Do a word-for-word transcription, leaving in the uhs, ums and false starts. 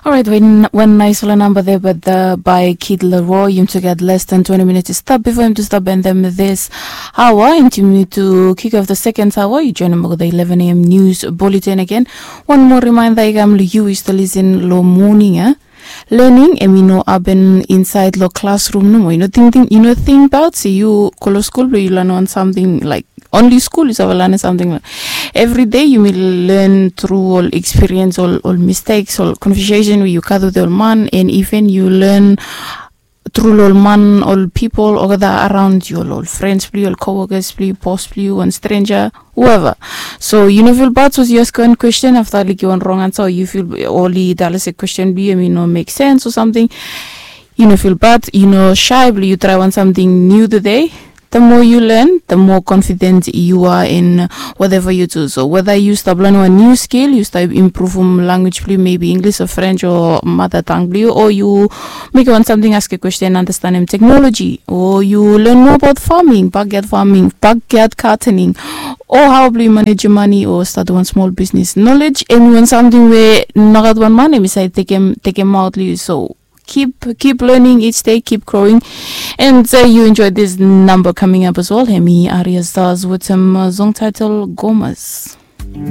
Orait, wan nais ol namba de bat bai Kid Laroi. Yum tu gat les dan twenti minits i stap bifo yum tu stap endem dis aoa. Yum tu kik of the second aoa yu joinim olgeta eleven a.m. nius buletin agen. Wan moa rimainda i kam long yu i stap lisin long moning ya. Lening em i no aben insaid long klasrum nomo. I no tingting, i no tingbaot se yu go long skul blong yu lanem wan samting laik onli skul yu save lanem samting. Evri dei yumi len tru ol ekspiriens, ol ol misteks, ol konvesesen we yu gat wetem ol man, and iven yu len tru long ol man, ol pipol olgeta araon yu, ol ol frens blong yu, ol kowokas blong yu, bos blong yu, wan strenja, hueva. So yu no fil bad sapos yu askem wan kwesten afta like wan rong ansa o yu fil oli dala se kwesten blong yu em i no mek sens o samting. Yu no fil bad, yu no shae blong yu trae wan samting niu tude. The moa yu len, the moa konfident yu a in whatever yu du. So weda yu stap lanem wan niu skil, yu stap impruvum lanwis blong yu, mebi Inglis o Frens o mada tang blong yu, o yu mekem wan samting, askem kwesten, anastenem teknoloji, o yu len moa abaot faming, bakyad faming, bakyad gatening, o hao blong yu manejem mane o statem wan smol bisnis. Nolej em i wan samting we nogat wan man em i save tekem, tekemaot long yu. So kip kip lening each day, kip growing. And yu enjoy this number coming up as well. Em i Arya Stars wetem song title Gomas.